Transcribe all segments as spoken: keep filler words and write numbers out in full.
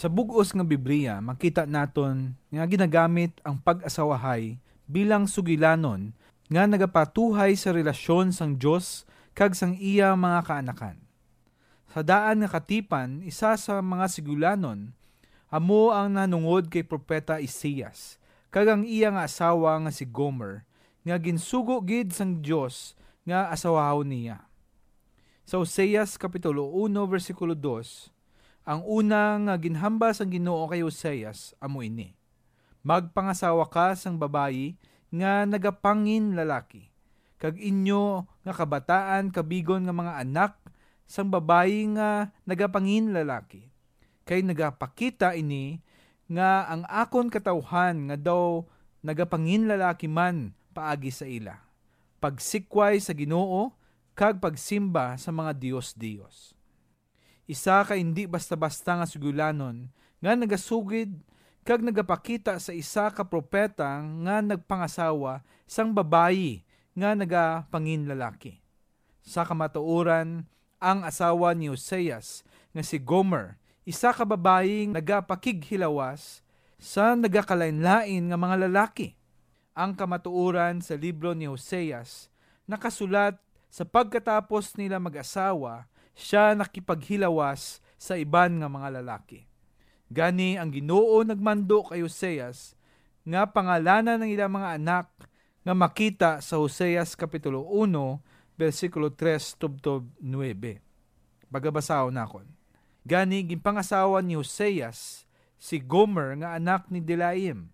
Sa bug-os nga Biblia, makita naton nga ginagamit ang pag-asawahay bilang sugilanon nga nagapatuhay sa relasyon sang Dios kag sang iya mga kaanakan. Sa daan nga katipan, isa sa mga sugilanon amo ang nahanungod kay Propeta Isaias kag ang iya nga asawa nga si Gomer, nga ginsugo gid sang Dios nga asawahon niya. Sa Oseas Kapitulo uno, bersikulo dos, ang una nga ginhambal sang Ginoo kay Oseas amo ini: "Magpangasawa ka sang babayi nga nagapanginlalaki, kag inyo nga kabataan kabigon nga mga anak sang babayi nga nagapanginlalaki, kay nagapakita ini nga ang akon katawhan nga daw nagapanginlalaki man paagi sa ila, pagsikway sa Ginoo kag pagsimba sa mga dios-dios." Isa ka indi basta-basta nga sugilanon nga nagasugid kag nagapakita sa isa ka propeta nga nagpangasawa sang babayi nga nagapanginlalaki. Sa kamatuoran, ang asawa ni Oseas nga si Gomer, isa ka babayi nagapakighilawas sa nagakalainlain nga mga lalaki. Ang kamatuoran sa libro ni Oseas nakasulat sa pagkatapos nila mag-asawa, siya nakipaghilawas sa iban nga mga lalaki. Gani, ang Ginoo nagmando kay Oseas nga pangalanan ang ilang mga anak nga makita sa Oseas Kapitulo uno, bersikulo tres tubtob nuebe. Pagabasahon nakon. Gani, ginpangasawa ni Oseas si Gomer nga anak ni Dilaim.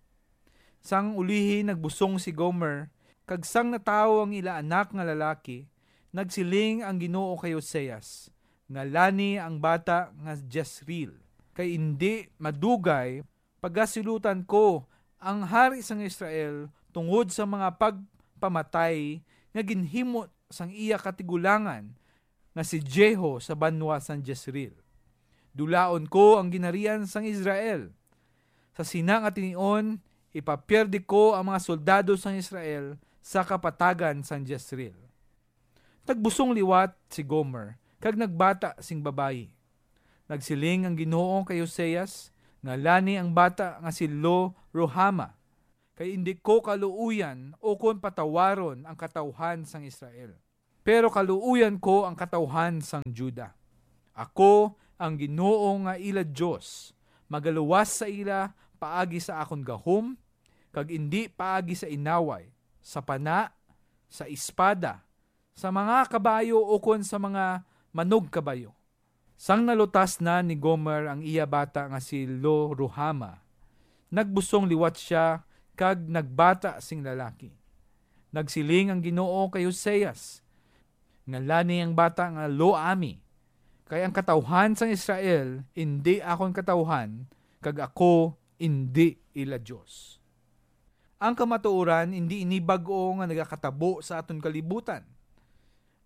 Sang ulihi, nagbusong si Gomer, kag sang natawo ang ila anak nga lalaki, nagsiling ang Ginoo kay Oseas: "Ngalani ang bata nga Jezreel, kay indi madugay pagasilutan ko ang hari sang Israel tungod sa mga pagpamatay nga ginhimo sang iya katigulangan nga si Jehu sa banwa sang Jezreel. Dulaon ko ang ginharian sang Israel. Sa sina nga tinion, ipapierde ko ang mga soldado sang Israel sa kapatagan sang Jezreel." Nagbusong liwat si Gomer kag nagbata sing babayi. Nagsiling ang Ginoo kay Oseas: "Ngalani ang bata nga si Lo-ruhama, kay indi ko kaluoyan ukon patawaron ang katawhan sang Israel, pero kaluoyan ko ang katawhan sang Juda. Ako, ang Ginoo nga ila Dios, magaluwas sa ila paagi sa akon gahom, kag indi paagi sa inaway, sa pana, sa espada, sa mga kabayo ukon sa mga manugkabayo." Sang nalutas na ni Gomer ang iya bata nga si Lo-ruhama, nagbusong liwat sia kag nagbata sing lalaki. Nagsiling ang Ginoo kay Oseas: "Ngalani ang bata nga Lo-ami, kay ang katawhan sang Israel indi akon katawhan, kag ako indi ila Dios." Ang kamatuoran, indi ini bag-o nga nagakatabo sa aton kalibutan.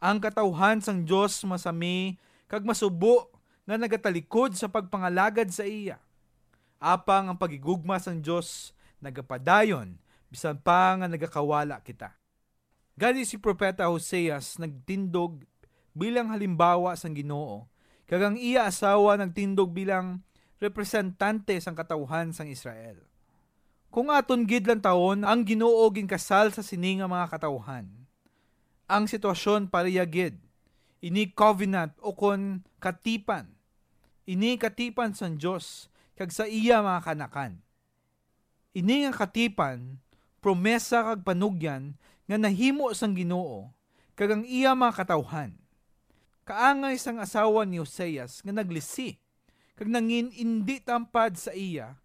Ang katawhan sang Dios masami kag masubo nga nagatalikod sa pagpangalagad sa iya. Apang ang paghigugma sang Dios nagapadayon, bisan pa nga nagakawala kita. Gani, si Propeta Oseas nagtindog bilang halimbawa sang Ginoo, kag ang iya asawa nagtindog bilang representante sang katawhan sang Israel. Kung aton gid lantawon, ang Ginoo ginkasal sa sini nga mga katawhan. Ang sitwasyon pareha gid. Ini covenant ukon katipan. Ini katipan sang Dios kag sa iya mga kaanakan. Ini nga katipan, promesa kag panugyan nga nahimo sang Ginoo kag ang iya mga katawhan. Kaangay sang asawa ni Oseas nga naglisi kag nangin indi tampad sa iya,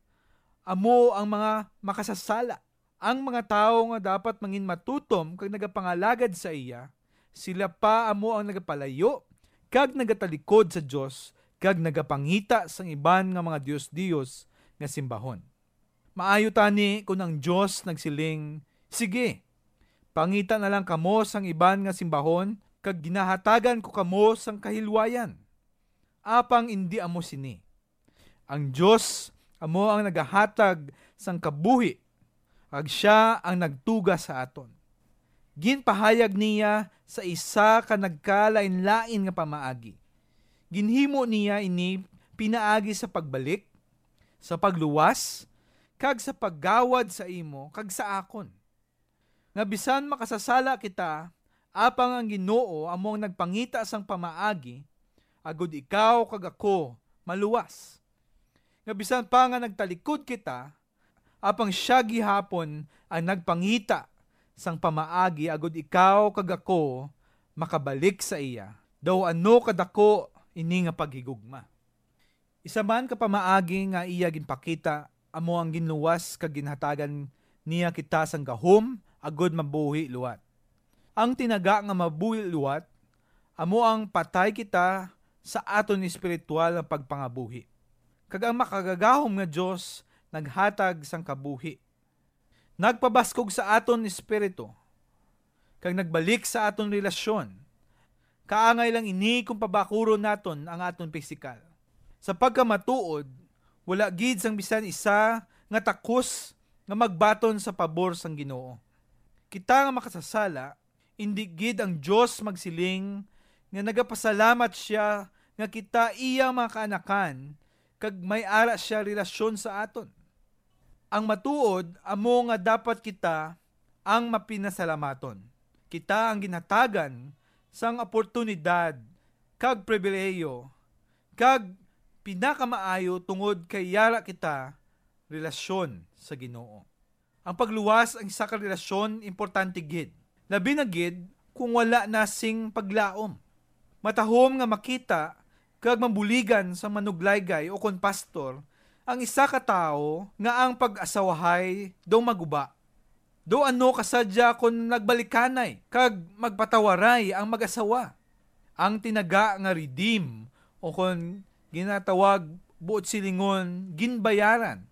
amo ang mga makasasala. Ang mga tawo nga dapat mangin matutom kag nagapangalagad sa iya, sila pa amo ang nagapalayo kag nagatalikod sa Dios kag nagapangita sang iban nga mga dios-dios nga simbahon. Maayo tani kon ang Dios nagsiling: "Sige, pangita na lang kamo sang iban nga simbahon, kag ginahatagan ko kamo sang kahilwayan." Apang indi amo sini. Ang Dios amo ang nagahatag sang kabuhi, kag sia ang nagtuga sa aton. Ginpahayag niya sa isa ka nagkalainlain nga pamaagi. Ginhimo niya ini pinaagi sa pagbalik, sa pagluwas, kag sa paggawad sa imo kag sa akon, nga bisan makasasala kita, apang ang Ginoo amo ang nagpangita sang pamaagi, agud ikaw kag ako maluwas. Nga bisan pa nga nagtalikod kita, apang sia gihapon ang nagpangita sang pamaagi, agud ikaw kag ako makabalik sa iya, daw ano kadako ini nga paghigugma. Isa man ka pamaagi nga iya ginpakita amo ang ginluwas kag ginhatagan niya kita sang gahom agud mabuhi liwat. Ang tinaga nga mabuhi liwat amo ang patay kita sa aton espiritual nga pagpangabuhi, kag ang makagagahom nga Dios naghatag sang kabuhi. Nagpabaskog sa aton espiritu, kag nagbalik sa aton relasyon. Kaangay lang ini kung pabakuron naton ang aton pisikal. Sa pagkamatuod, wala gid sang bisan isa nga takos nga magbaton sa pabor sang Ginoo. Kita nga makasasala, indi gid ang Dios magsiling nga nagapasalamat sia nga kita iya mga kaanakan, kag may ara sia relasyon sa aton. Ang matuod amo nga dapat kita ang mapinasalamaton. Kita ang ginhatagan sang oportunidad kag pribilehiyo, kag pinakamaayo tungod kay yara kita relasyon sa Ginoo. Ang pagluwas ang isa ka relasyon importante gid, labi na gid kung wala na sing paglaom. Matahom nga makita kag mabuligan sa manuglaygay o kon pastor ang isa ka tawo nga ang pag-asawahay daw maguba. Daw ano kasadya kon nagbalikanay kag magpatawaray ang mag-asawa? Ang tinaga nga redeem, o kon ginatawag buot silingon, ginbayaran,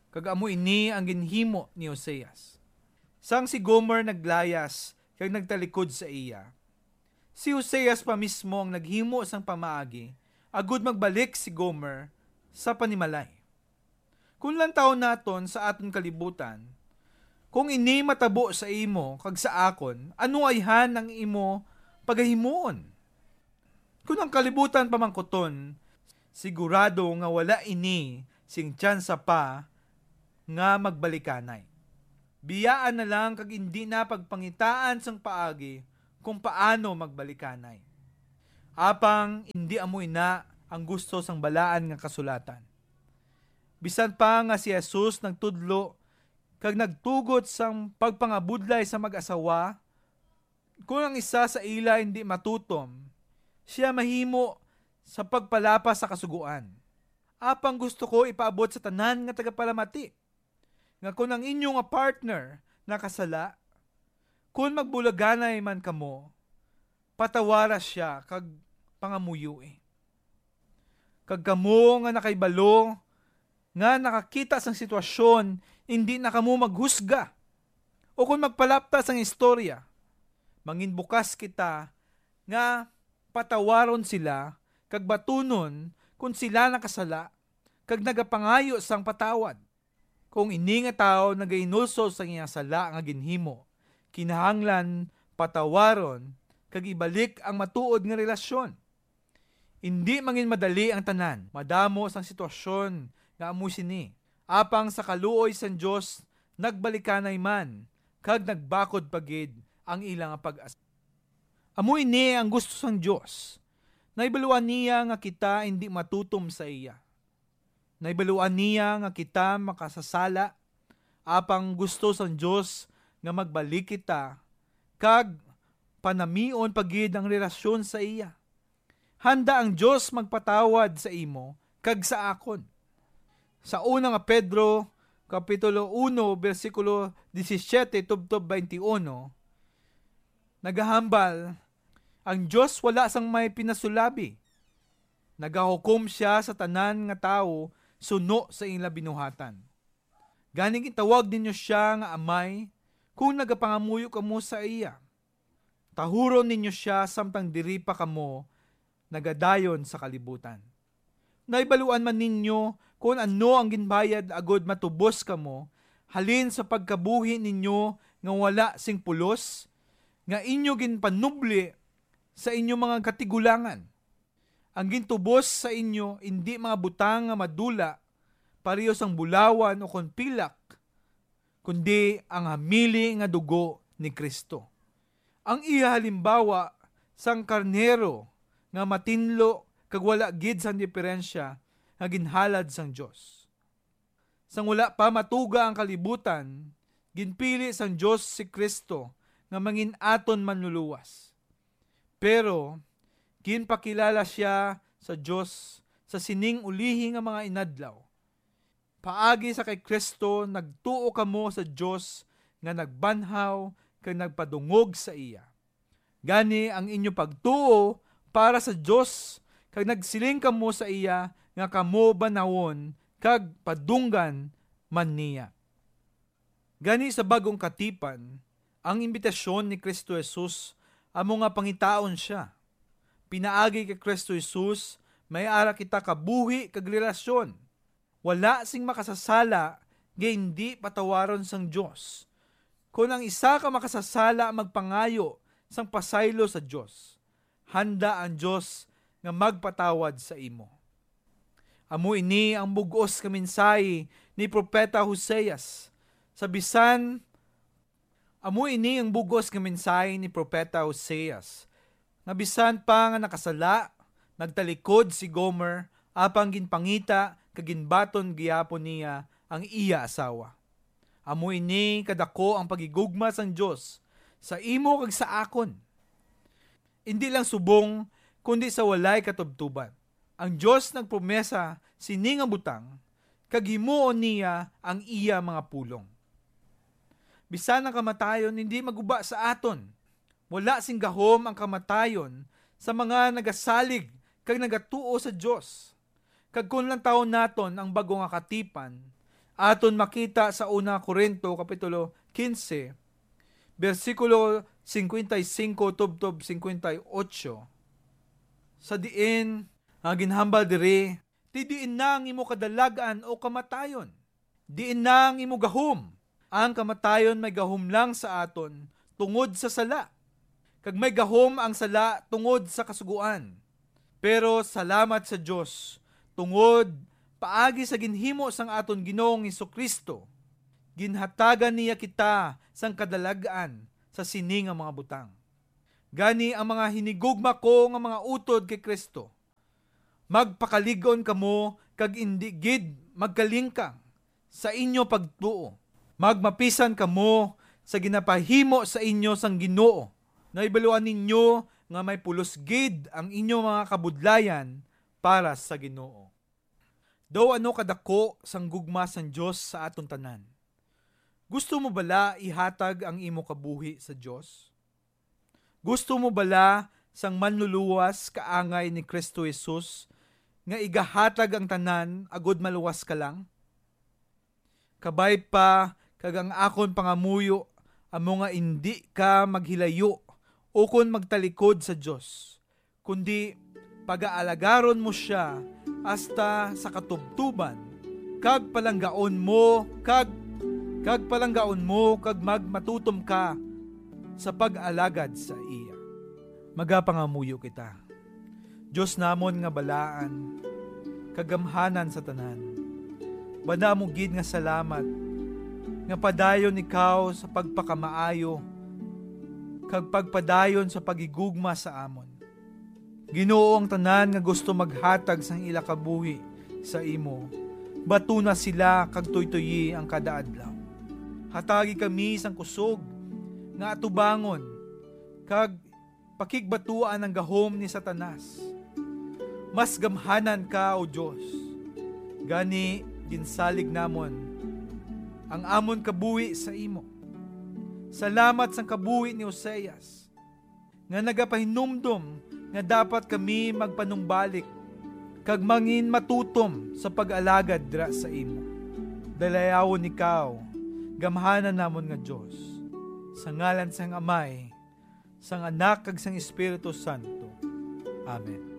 kag amo ini ang ginhimo ni Oseas. Sang si Gomer naglayas kag nagtalikod sa iya, si Oseas pa mismo ang naghimo sang pamaagi agud magbalik si Gomer sa panimalay. Kung lantawon naton sa aton kalibutan, kung ini matabo sa imo kag sa akon, ano ayhan ang imo pagahimuon? Kung ang kalibutan pamangkuton, sigurado nga wala ini sing tsansa pa nga magbalikanay. Biyaan na lang kag indi na pagpangitaan sang paagi kung paano magbalikanay. Apang indi amo ina ang gusto sang Balaan nga Kasulatan. Bisan pa nga si Jesus nagtudlo kag nagtugot sang pagpangabudlay sa mag-asawa, kon ang isa sa ila indi matutom, sia mahimo sa pagpalapas sa Kasugoan. Apang gusto ko ipaabot sa tanan nga tagapalamati nga kon ang inyo nga partner nakasala, kon magbulaganay man kamo, patawara sia kag pangamuyoi. Kag kamo nga nakahibalo nga nakakita sang sitwasyon, indi na kamo maghusga o kon magpalapta sang istorya. Manginbukas kita nga patawaron sila kag batunon kon sila nakasala kag nagapangayo sang patawad. Kung ini nga tawo nagahinulsol sang iya sala nga ginhimo, kinahanglan patawaron kag ibalik ang matuod nga relasyon. Indi manginmadali ang tanan. Madamo sang sitwasyon nga amo sini. Apang sa kaluoy sang Dios, nagbalikanay man kag nagbakod pa gid ang ila nga pag-as. Amo ini ang gusto sang Dios. Nahibaluan niya nga kita indi matutom sa iya. Nahibaluan niya nga kita makasasala, apang gusto sang Dios nga magbalik kita kag panamion pa gid ang relasyon sa iya. Handa ang Dios magpatawad sa imo kag sa akon. Sa una nga Pedro, Kapitulo uno, bersikulo disisiete tubtob twenty-uno, nagahambal, ang Dios wala sang may pinasulabi. Nagahukom sia sa tanan nga tawo suno sa ila binuhatan. Gani gintawag ninyo sia nga Amay, kung nagapangamuyo kamo sa iya. Tahuron ninyo sia samtang diri pa kamo nagadayon sa kalibutan. Nahibaluan man ninyo kon ano ang ginbayad agud matubos kamo halin sa pagkabuhi ninyo nga wala sing pulos, nga inyo ginpanubli sa inyo mga katigulangan. Ang gintubos sa inyo indi mga butang nga madula, pareho sang bulawan o kon pilak, kundi ang hamili nga dugo ni Cristo. Ang iya halimbawa sang karnero nga matinlo kag wala gid sang diperensya nga ginhalad sang Dios. Sang wala pa matuga ang kalibutan, ginpili sang Dios si Cristo nga mangin aton manluluwas. Pero ginpakilala sia sa Dios sa sining ulihi nga mga inadlaw. Paagi sa kay Cristo, nagtuo kamo sa Dios nga nagbanhaw kag nagpadungog sa iya. Gani, ang inyo pagtuo para sa Dios, kag nagsiling kamo sa iya nga kamo banawon kag padunggan man niya. Gani, sa bag-ong katipan, ang imbitasyon ni Cristo Jesus amo nga pangitaon sia. Pinaagi kay Cristo Jesus, may ara kita kabuhi kag relasyon. Wala sing makasasala nga indi patawaron sang Dios. Kon ang isa ka makasasala magpangayo sang pasaylo sa Dios, handa ang Dios nga magpatawad sa imo. Amo ini ang bug-os nga mensahe ni Propeta Hoseas. Sa bisan, amo ini ang bug-os nga mensahe ni Propeta Hoseas, nga bisan pa nga nakasala, nagtalikod si Gomer, apang ginpangita kag ginbaton gihapon niya ang iya asawa. Amo ini kadako ang paghigugma sang Dios sa imo kag sa akon. Indi lang subong, kundi sa walay katubtuban. Ang Dios nagpromesa sini nga butang, kag himuon niya ang iya mga pulong. Bisan ang kamatayon hindi maguba sa aton. Wala sing gahom ang kamatayon sa mga nagasalig kag nagatuo sa Dios. Kag kon lantawon naton ang bag-o nga katipan, aton makita sa Una Corinto Kapitulo quince, bersikulo cincuenta y cinco tubtob cincuenta y ocho, sa diin nga ginhambal diri, "Ti diin na ang imo kadalag-an o kamatayon? Diin na ang imo gahom? Ang kamatayon may gahom lang sa aton tungod sa sala, kag may gahom ang sala tungod sa kasugoan. Pero salamat sa Dios, tungod paagi sa ginhimo sang aton Ginoong Jesu-Cristo, ginhatagan niya kita sang kadalag-an sa sini nga mga butang. Gani, ang mga hinigugma ko nga mga utod kay Cristo, magpakalig-on kamo kag indi gid magkalingkang sa inyo pagtuo. Magmapisan kamo sa ginapahimo sa inyo sang Ginoo. Nahibaluan ninyo nga may pulos gid ang inyo mga kabudlayan para sa Ginoo." Daw ano kadako sang gugma sang Dios sa aton tanan. Gusto mo bala ihatag ang imo kabuhi sa Dios? Gusto mo bala sang manluluwas kaangay ni Cristo Jesus nga igahatag ang tanan agud maluwas ka lang? Kabay pa kag ang akon pangamuyo amo nga indi ka maghilayo ukon magtalikod sa Dios, kundi pagaalagarun mo sia hasta sa katubtuban, kag palanggaon mo kag, kag palanggaon mo kag magmatutom ka sa pag-alagad sa iya. Magapangamuyo kita. Dios namon nga balaan kag gamhanan sa tanan, banda mo gid nga salamat nga padayon ikaw sa pagpakamaayo kag pagpadayon sa paghigugma sa amon. Ginoo, ang tanan nga gusto maghatag sang ila kabuhi sa imo, batuna sila kag tuytoyi ang kada adlaw. Hatagi kami sang kusog nga atubangon kag pakigbatuan ang gahom ni Satanas. Mas gamhanan ka, O Dios. Gani, ginsalig namon ang amon kabuhi sa imo. Salamat sang kabuhi ni Oseas, nga nagapahinumdom nga dapat kami magpanumbalik kag mangin matutom sa pag-alagad dira sa imo. Dalayawon ikaw, gamhanan namon nga Dios, sa ngalan sang Amay, sang Anak, kag sang Espiritu Santo. Amen.